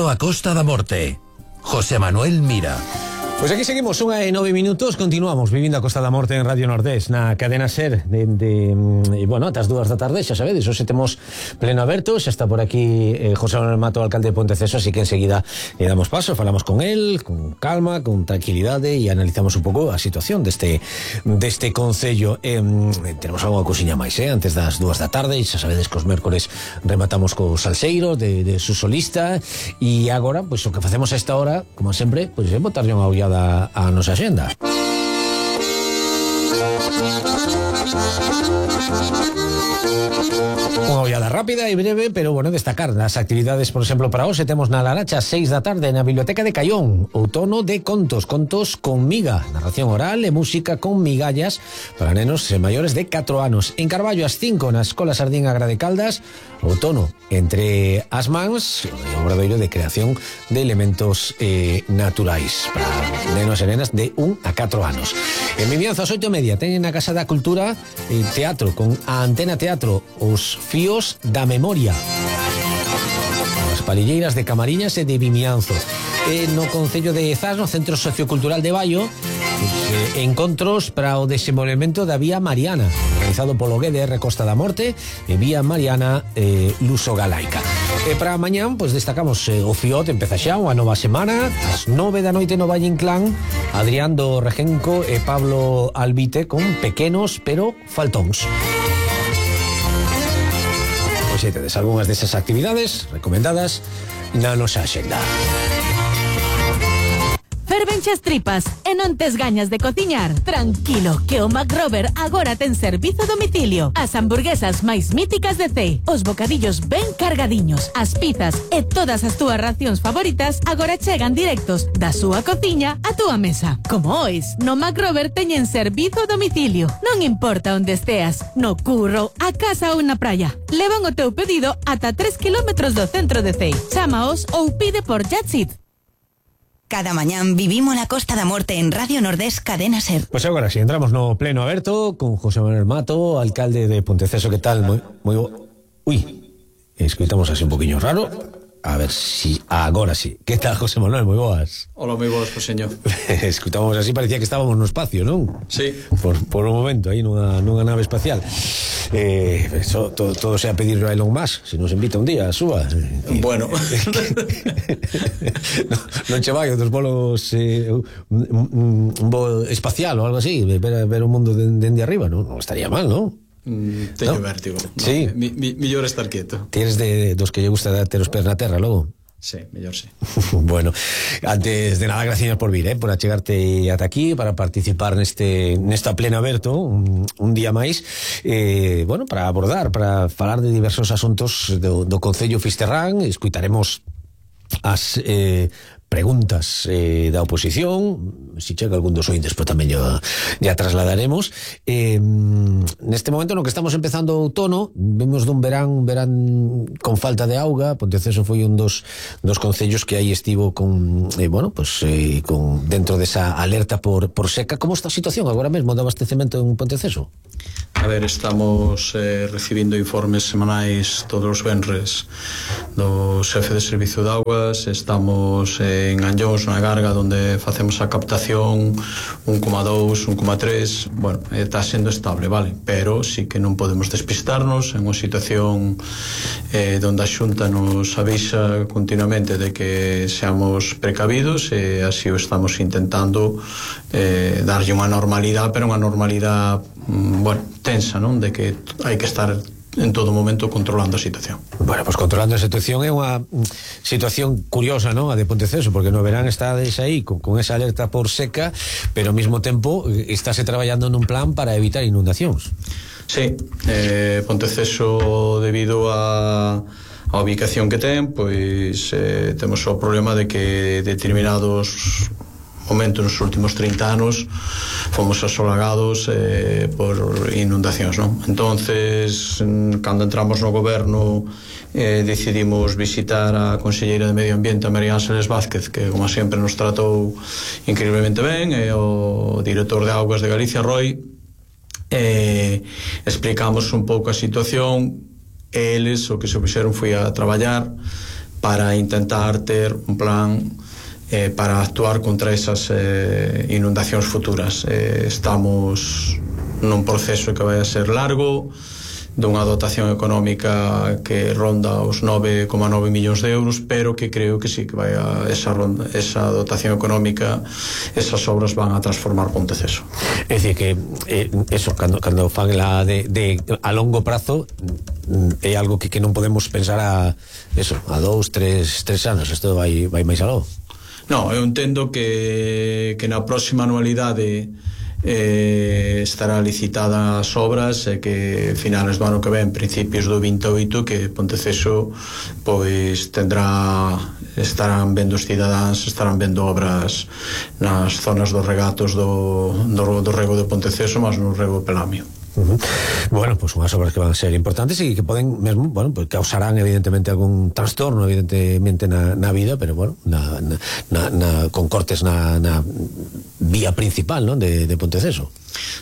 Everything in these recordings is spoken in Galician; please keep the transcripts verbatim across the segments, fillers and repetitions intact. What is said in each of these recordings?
Vivindo a Costa da Morte. José Manuel Mira. Pois aquí seguimos, unha e nove minutos. Continuamos vivindo a Costa da Morte en Radio Nordés, na cadena SER de, de, de bueno, ata as dúas da tarde, xa sabedes, hoxe temos pleno aberto. Xa está por aquí eh, José Manuel Mato, alcalde de Ponteceso, así que enseguida le damos paso, falamos con él con calma, con tranquilidade e analizamos un pouco a situación deste deste concello. eh, Tenemos algo cousiña máis, eh, antes das dúas da tarde. Xa sabedes que os mércores rematamos co salseiro de, de su solista. E agora, pois o que facemos a esta hora, como sempre, pois é botarlle unha ollada a nosa axenda. Unha ollada rápida e breve, pero bueno, destacar as actividades, por exemplo, para hoxe temos na Laracha seis da tarde na Biblioteca de Caión, outono de contos, contos con miga, narración oral e música con migallas para nenos e maiores de catro anos. En Carballo ás cinco na Escola Sardín Agra de Caldas, outono entre as mans, un obradoiro de creación de elementos eh, naturais para nenos e nenas de un a catro anos. En Vimianzo ás oito e media teñen na Casa da Cultura eh, teatro con a Antena Teatro, os fíos da memoria, as palilleiras de Camariñas e de Vimianzo. E no Concello de Zas, no Centro Sociocultural de Baio, pues, eh, encontros para o desenvolvemento da Vía Mariana, organizado polo G D R Costa da Morte e Vía Mariana eh, Luso Galaica. E para mañán, pues, destacamos eh, o Fiot, empeza xa unha nova semana, ás nove da noite no Valle Inclán, Adrián do Regenco e Pablo Albite con pequenos pero faltóns. Pois aí tedes algunhas desas actividades recomendadas na nosa axenda. Fervenche as tripas e non tes gañas de cociñar? Tranquilo, que o McRober agora ten servizo a domicilio. As hamburguesas máis míticas de Cee, os bocadillos ben cargadiños, as pizzas e todas as túas racións favoritas agora chegan directos da súa cociña á túa mesa. Como ois, no McRober teñen servizo a domicilio. Non importa onde esteas, no curro, a casa ou na praia. Levan o teu pedido ata tres kilómetros do centro de Cee. Chámaos ou pide por Jatsit. Cada mañán vivimos la Costa da Morte en Radio Nordés Cadena SER. Pois agora si, entramos no pleno aberto con José Manuel Mato, alcalde de Ponteceso. Que tal? Moi, moi bo... Ui, escoitamos así un poquinho raro. A ver si agora sí. Que tal, José Manuel? Moi boas. Hola, moi boas, pues, señor. Escoitamos así, parecía que estábamos no espacio, non? Sí. Por, por un momento, aí nunha, nunha nave espacial. Eh, eso, todo, todo sea pedir a Elon Musk, se nos invita un día, suba. Bueno. no, non che vai outros bolos, eh, un, un, un voo espacial ou algo así, ver, ver o mundo dende de, de arriba, non? Non estaría mal, non? Mm, teño ¿no? vértigo. No, sí. Mi, mi, millor estar quieto. Tienes de, de dos que lle gusta ter os pés na terra, logo? Sí, mellor sí. Bueno, antes de nada, gracias por vir, eh, por achegarte ata aquí para participar neste nesta pleno aberto un, un día máis, eh, bueno, para abordar, para falar de diversos asuntos do, do Concello Fisterrán. Escutaremos as eh, preguntas eh, da oposición, si chega algún dos ointes, pero tamén ya, ya trasladaremos. Eh, neste momento no que estamos empezando o outono, vemos dun verán, un verán con falta de auga. Ponteceso foi un dos, dos concellos que aí estivo con, eh, bueno, pues, eh, con dentro desa alerta por, por seca. Como está a situación agora mesmo de abastecemento en Ponteceso? A ver, estamos eh, recibindo informes semanais todos os venres do xefe de servicio de augas. Estamos eh, en Anllóns, na Garga, onde facemos a captación un coma dous, un coma tres. Bueno, está sendo estable, vale, pero sí que non podemos despistarnos en unha situación eh, onde a Xunta nos avisa continuamente de que seamos precavidos, e así o estamos intentando eh, darlle unha normalidade, pero unha normalidade bueno, tensa, non? De que hai que estar en todo momento controlando a situación. Bueno, pues controlando a situación é unha situación curiosa, non? A de Ponteceso, porque no verán estades aí con, con esa alerta por seca, pero ao mesmo tempo estáse traballando nun plan para evitar inundacións. Sí, eh, Ponteceso, debido a a ubicación que ten, pois eh, temos o problema de que determinados momento nos últimos trinta anos fomos asolagados eh, por inundacións, non? Entonces, cando entramos no goberno, eh, decidimos visitar a conselleira de Medio Ambiente, a María Ángeles Vázquez, que como sempre nos tratou increíblemente ben, e o director de Augas de Galicia, Roy, eh, explicamos un pouco a situación, e eles o que se fixeron foi a traballar para intentar ter un plan eh, para actuar contra esas eh, inundacións futuras. Eh, estamos nun proceso que vai a ser largo, dunha dotación económica que ronda os nove coma nove millóns de euros, pero que creo que sí que vai a esa, ronda, esa dotación económica, esas obras van a transformar Ponteceso. É dicir que eh, eso, cando, cando fan la de, de a longo prazo, é algo que, que non podemos pensar a eso, a dous, tres, tres anos, isto vai, vai máis aló. Non, eu entendo que, que na próxima anualidade Eh, estará licitada as obras e que finales do ano que ven, principios do vinte e oito, que Ponteceso pois tendrá, estarán vendo os cidadáns, estarán vendo obras nas zonas dos regatos do, do, do rego de Ponteceso, mas no rego Pelamio. Uh-huh. Bueno, pues unhas obras que van a ser importantes e que poden mesmo, bueno, pues causarán evidentemente algún trastorno evidentemente na, na vida, pero bueno, na, na, na, con cortes na, na vía principal, ¿no?, de, de Ponteceso.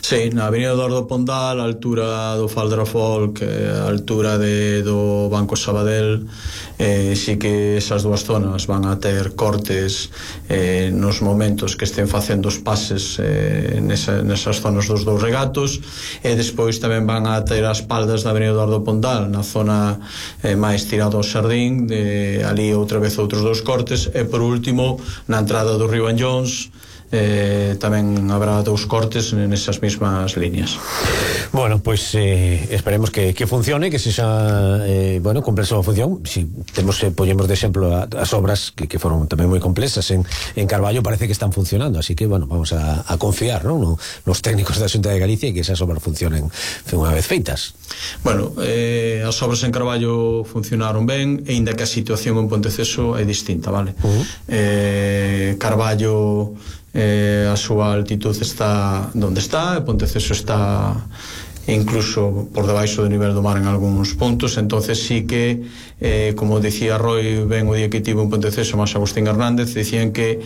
Sí, na avenida Eduardo Pondal, a altura do Faldrafolk, a altura de, do Banco Sabadell, eh, sí que esas dúas zonas van a ter cortes eh, nos momentos que estén facendo os pases eh, nesa, nesas zonas dos dous regatos, e despois tamén van a ter as paldas da avenida Eduardo Pondal, na zona eh, máis tirado ao Xardín, de, ali outra vez outros dous cortes, e por último, na entrada do río Anllóns, Eh, tamén habrá dous cortes nesas mesmas líneas. Bueno, pues eh, esperemos que, que funcione, que sexa eh, bueno, cumpla a súa función. Si temos, eh, poñemos de exemplo a, as obras que, que foron tamén moi complexas en, en Carballo, parece que están funcionando, así que bueno, vamos a, a confiar, ¿no?, no, nos técnicos da Xunta de Galicia, e que esas obras funcionen unha vez feitas. Bueno, eh, as obras en Carballo funcionaron ben, e inda que a situación en Ponteceso é distinta, vale? Uh-huh. eh, Carballo Eh, a súa altitude está onde está, e Ponteceso está incluso por debaixo do nivel do mar en algúns puntos, entonces sí que eh, como dicía Roy ben o día que tivo en Ponteceso máis Agustín Hernández, dicían que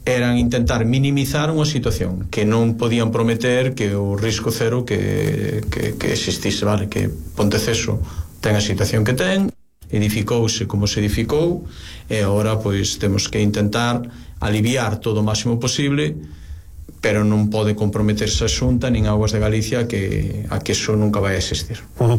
eran intentar minimizar unha situación, que non podían prometer que o risco cero que, que, que existise, vale? Que Ponteceso ten a situación que ten, edificouse como se edificou, e agora pois temos que intentar aliviar todo o máximo posible, pero non pode comprometerse a Xunta nin Augas de Galicia que a que eso nunca vai a existir. Uh-huh.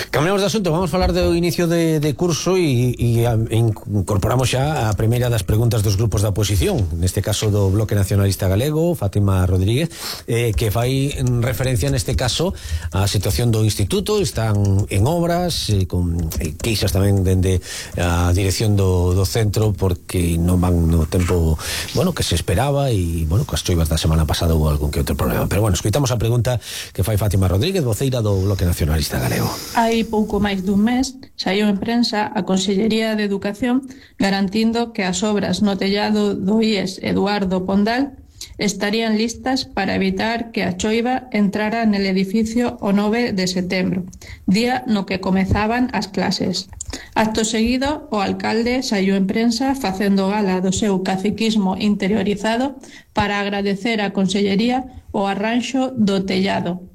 Cambiamos de asunto, vamos falar do inicio de, de curso e, e a, incorporamos xa a primeira das preguntas dos grupos da oposición, neste caso do Bloque Nacionalista Galego, Fátima Rodríguez, eh, que fai referencia neste caso á situación do Instituto. Están en obras, eh, con eh, queixas tamén dende a dirección do, do centro, porque non van no tempo, bueno, que se esperaba, e bueno, coas choivas da semana pasada hubo algún que outro problema. Pero bueno, escoitamos a pregunta que fai Fátima Rodríguez, voceira do Bloque Nacionalista Galego. Hai pouco máis dun mes saiu en prensa a Consellería de Educación garantindo que as obras no tellado do I E S Eduardo Pondal estarían listas para evitar que a choiva entrara nel edificio o nove de setembro, día no que comezaban as clases. Acto seguido, o alcalde saiu en prensa facendo gala do seu caciquismo interiorizado para agradecer á Consellería o arranxo do tellado,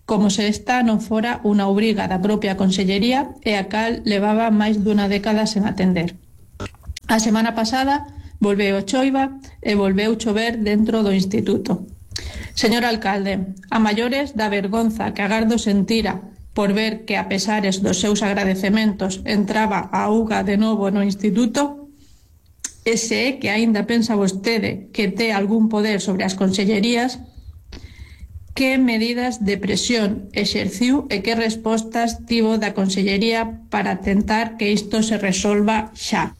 como se esta non fora unha obriga da propia Consellería e a cal levaba máis dunha década sen atender. A semana pasada volveu choiva e volveu chover dentro do instituto. Señor alcalde, a maiores da vergonza que agardo sentira por ver que, a pesares dos seus agradecementos, entraba a auga de novo no instituto, e se é que aínda pensa vostede que té algún poder sobre as consellerías, que medidas de presión exerciu e que respostas tivo da Consellería para tentar que isto se resolva xa?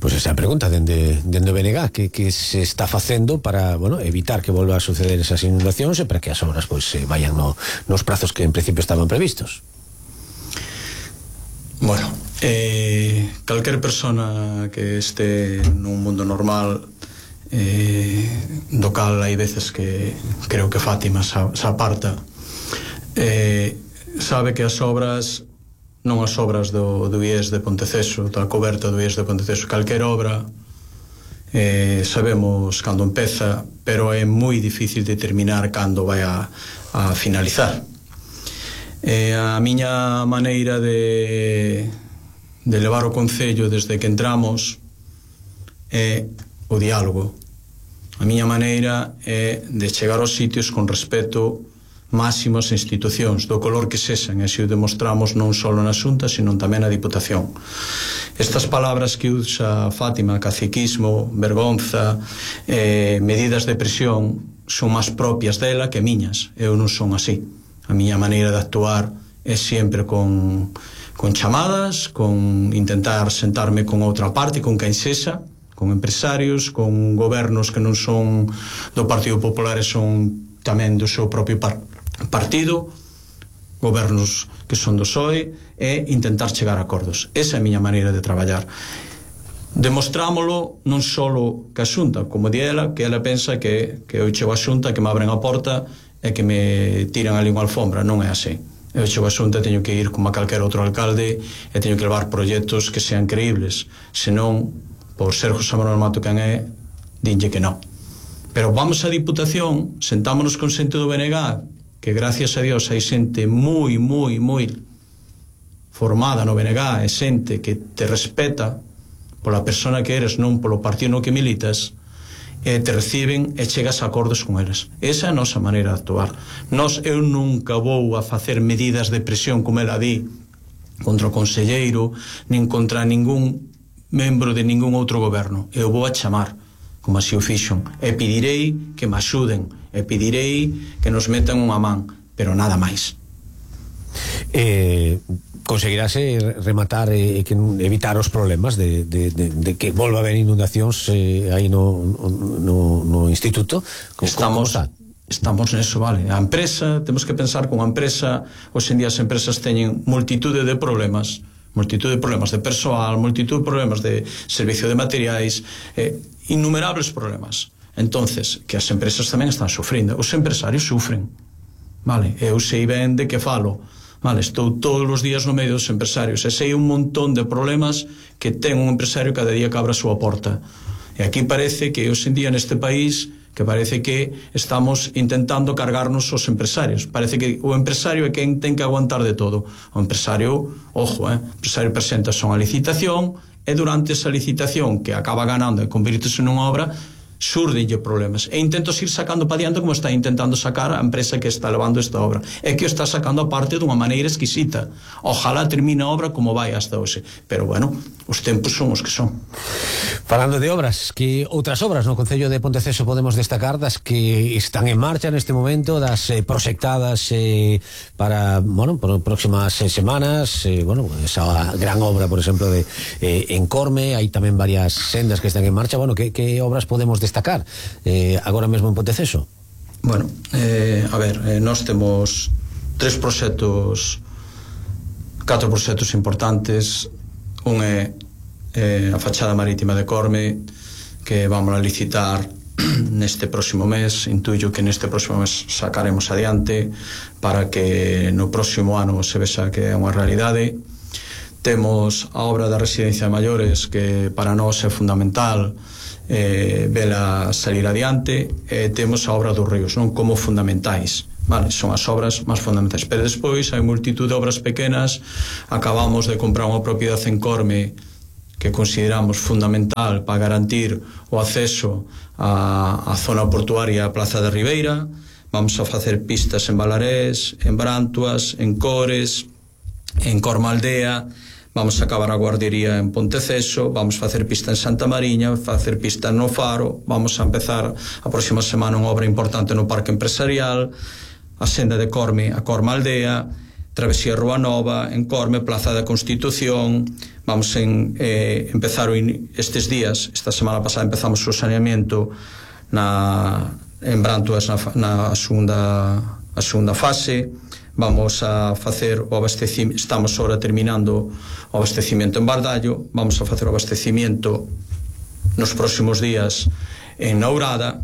Pois pues esa pregunta dende, dende o B N G, que, que se está facendo para, bueno, evitar que volva a suceder esas inundacións e para que as obras pois pues, vayan no, nos prazos que en principio estaban previstos. Bueno, eh, calquer persona que este nun mundo normal, eh, do cal hai veces que creo que Fátima se aparta, eh, sabe que as obras, non as obras do, do I E S de Ponteceso, da coberta do I E S de Ponteceso, calquer obra eh, sabemos cando empeza, pero é moi difícil determinar cando vai a, a finalizar. Eh, a miña maneira de de levar o Concello desde que entramos é o diálogo. A miña maneira é de chegar aos sitios con respeto máximo ás institucións, do color que sexan, e así o demostramos non só na Xunta, sino tamén na Diputación. Estas palabras que usa Fátima, caciquismo, vergonza, eh, medidas de presión, son máis propias dela que miñas. Eu non son así. A miña maneira de actuar é sempre con, con chamadas, con intentar sentarme con outra parte, con quen sexa, con empresarios, con gobernos que non son do Partido Popular e son tamén do seu propio par partido, gobernos que son do P S O E, e intentar chegar a acordos. Esa é a miña maneira de traballar. Demostrámolo non só que a Xunta, como di ela, que ela pensa que, que eu chego a Xunta, que me abren a porta e que me tiran ali unha alfombra. Non é así. Eu chego a Xunta, teño que ir como a calquer outro alcalde e teño que levar proxectos que sean creíbles. Senón, por ser José Manuel Mato quen é, dinlle que non. Pero vamos á Diputación, sentámonos con xente do B N G, que gracias a Dios hai xente moi, moi, moi formada no B N G, e xente que te respeta pola persona que eres, non polo partido no que militas, e te reciben e chegas a acordos con eles. Esa é a nosa maneira de actuar. Nos, eu nunca vou a facer medidas de presión, como ela di, contra o conselleiro, nin contra ningún membro de ningún outro goberno. Eu vou a chamar, como así o fixon, e pedirei que me axuden, e pedirei que nos metan unha man, pero nada máis. Eh, conseguirase rematar e eh, que evitar os problemas de, de, de, de que volva a haber inundacións eh, aí no, no, no instituto? Como, estamos como estamos neso, vale. A empresa, temos que pensar que unha empresa, hoxe en día as empresas teñen multitude de problemas, multitude de problemas de persoal, multitude de problemas de servicio de materiais, eh, innumerables problemas. Entonces, que as empresas tamén están sufrindo, os empresarios sufren, vale, eu sei ben de que falo, vale, estou todos os días no medio dos empresarios e sei un montón de problemas que ten un empresario cada día que abre a súa porta. E aquí parece que hoxe en día neste país que parece que estamos intentando cargarnos os empresarios. Parece que o empresario é quen ten que aguantar de todo. O empresario, ojo, eh, o empresario presenta son a licitación e durante esa licitación que acaba ganando e convirtese nunha obra, surdenlle problemas e intentos ir sacando para diante como está intentando sacar a empresa que está levando esta obra e que o está sacando a parte dunha maneira exquisita. Ojalá termine a obra como vai hasta hoxe, pero bueno, os tempos son os que son. Falando de obras, que outras obras no Concello de Ponteceso podemos destacar das que están en marcha neste momento, das eh, proxectadas eh, para, bueno, por próximas eh, semanas, eh, bueno, esa gran obra, por exemplo, de eh, Encorme, hai tamén varias sendas que están en marcha. Bueno, que, que obras podemos destacar eh, agora mesmo en Ponteceso? Bueno, eh, a ver, eh, nós temos tres proxectos, catro proxectos importantes. Un é eh, a fachada marítima de Corme, que vamos a licitar neste próximo mes. Intuyo que neste próximo mes sacaremos adiante para que no próximo ano se vexa que é unha realidade. Temos a obra da residencia de maiores, que para nós é fundamental eh, vela salir adiante. E temos a obra dos ríos, non, como fundamentais, vale, son as obras máis fundamentais, pero despois hai multitud de obras pequenas. Acabamos de comprar unha propiedade en Corme que consideramos fundamental para garantir o acceso á, á zona portuaria, a Plaza de Ribeira. Vamos a facer pistas en Balarés, en Brantuas, en Cores, en Cormaldea. Vamos a acabar a guardería en Ponteceso, vamos a facer pista en Santa Mariña, facer pista no Faro, vamos a empezar a próxima semana unha obra importante no Parque Empresarial, a senda de Corme a Cormaldea, Travesía Rúa Nova, en Corme, Plaza da Constitución. Vamos a eh, empezar o in, estes días, esta semana pasada empezamos o saneamiento na, en Brantuas na, na segunda, a segunda fase. Vamos a facer o abastecimiento, estamos ahora terminando o abastecimiento en Bardallo, vamos a facer o abastecimiento nos próximos días en Nourada,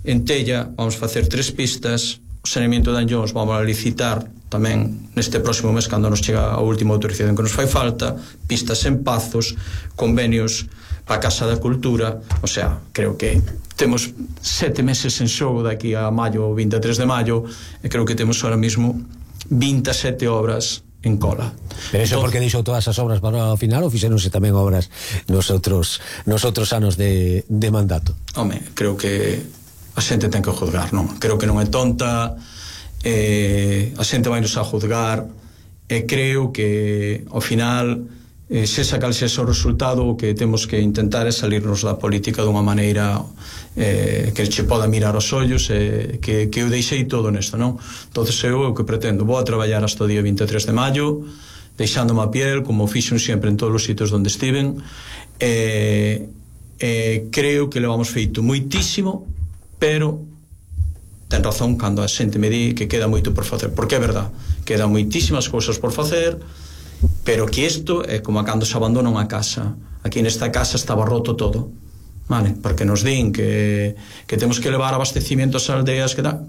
en Tella vamos a facer tres pistas, o saneamiento de Anllóns vamos a licitar tamén neste próximo mes cando nos chega a última autorización que nos fai falta, pistas en Pazos, convenios para a Casa da Cultura. O sea, creo que temos sete meses en xogo daqui a maio, vinte e tres de maio, e creo que temos ahora mismo vinte e sete obras en cola. Pero iso porque deixou todas as obras para o final ou fixeronse tamén obras nos outros, nos outros anos de, de mandato? Home, creo que a xente ten que juzgar, non? Creo que non é tonta, eh, a xente vai nos a juzgar, e creo que ao final eh, sexa cal sexa o resultado, o que temos que intentar é salirnos da política dunha maneira eh, que che poda mirar os ollos, eh, que, que eu deixei todo nesto, non? Entonces eu o que pretendo, vou a traballar hasta o día vinte e tres de maio, deixándome a piel como fixen sempre en todos os sitios onde estiven, e eh, eh, creo que le vamos feito moitísimo, pero ten razón cando a xente me di que queda moito por facer, porque é verdad, quedan moitísimas cousas por facer, pero que isto é como cando se abandona unha casa. Aquí nesta casa estaba roto todo, vale? Porque nos din que, que temos que levar abastecimiento ás aldeas, que da,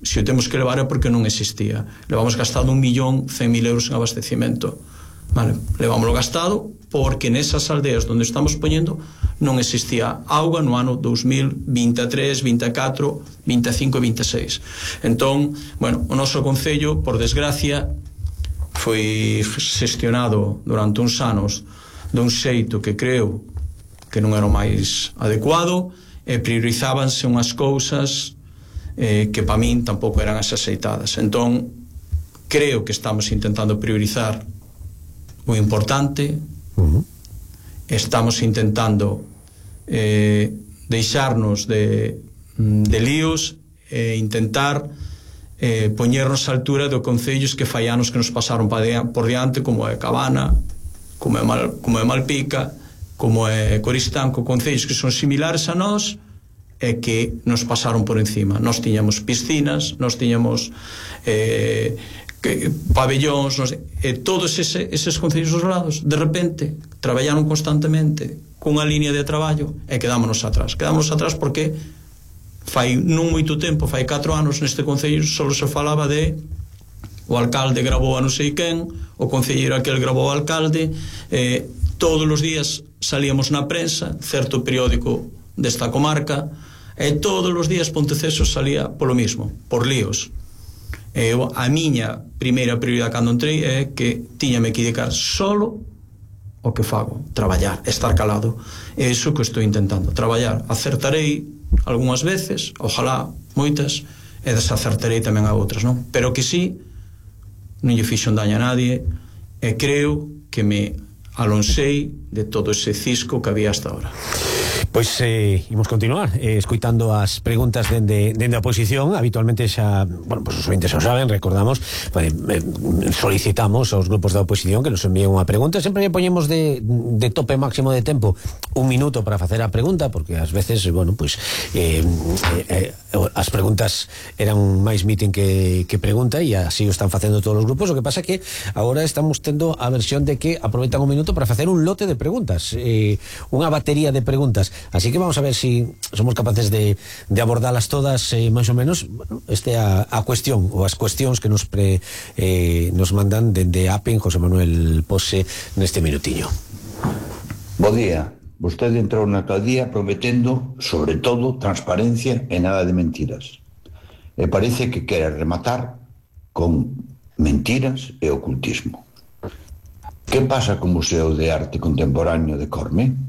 se o temos que levar é porque non existía. Levamos gastado un millón cen mil euros en abastecimento, vale? Levámoslo gastado porque nesas aldeas onde estamos poñendo non existía auga no ano dos mil vinte e tres, vinte e catro, vinte e cinco e vinte e seis. Entón, bueno, o noso concello, por desgracia, foi xestionado durante uns anos dun xeito que creo que non era o máis adecuado, e priorizábanse unhas cousas eh, que para min tampouco eran as axeitadas. Entón, creo que estamos intentando priorizar o importante. Uh-huh. Estamos intentando eh, deixarnos de, de líos e intentar eh, poñernos á altura de concellos que fai anos que nos pasaron por diante, como é Cabana, como é, Mal, como é Malpica, como é Coristanco, concellos que son similares a nós e que nos pasaron por encima. Nós tiñamos piscinas, nós tiñamos eh, que, pabellóns, nos, e todos ese, eses concellos dos lados de repente traballaron constantemente cunha línea de traballo e quedámonos atrás quedámonos atrás porque fai non moito tempo, fai catro anos neste concello só se falaba de o alcalde gravou a non sei quen, o concelleiro aquel gravou o alcalde, eh, todos os días salíamos na prensa, certo periódico desta comarca, e todos os días Ponteceso salía polo mismo, por líos. Eu, a miña primeira prioridade cando entrei é que tiñame que dedicar solo o que fago, traballar, estar calado. É iso que estou intentando, traballar. Acertarei algunhas veces, ojalá moitas, e desacertarei tamén a outras, non? Pero que sí, non lle fixo un daño a nadie, e creo que me alonsei de todo ese cisco que había hasta ahora. Pois eh, imos continuar eh, escoitando as preguntas dende, dende a oposición. Habitualmente xa, bueno, pues os ointes xa saben, recordamos, pues, eh, solicitamos aos grupos da oposición que nos envíen unha pregunta. Sempre lle poñemos de, de tope máximo de tempo un minuto para facer a pregunta, porque ás veces, bueno, pues eh, eh, as preguntas eran máis meeting que, que pregunta, e así o están facendo todos os grupos. O que pasa que agora estamos tendo a versión de que aproveitan un minuto para facer un lote de preguntas, eh, unha batería de preguntas. Así que vamos a ver si somos capaces de, de abordarlas todas eh, máis ou menos. Bueno, este a, a cuestión ou as cuestións que nos pre, eh, nos mandan dende A P E N José Manuel Pose neste minutiño. Bo día. Vostede entrou na alcaldía prometendo, sobre todo, transparencia e nada de mentiras. E parece que quere rematar con mentiras e ocultismo. Que pasa co Museo de Arte Contemporáneo de Corme?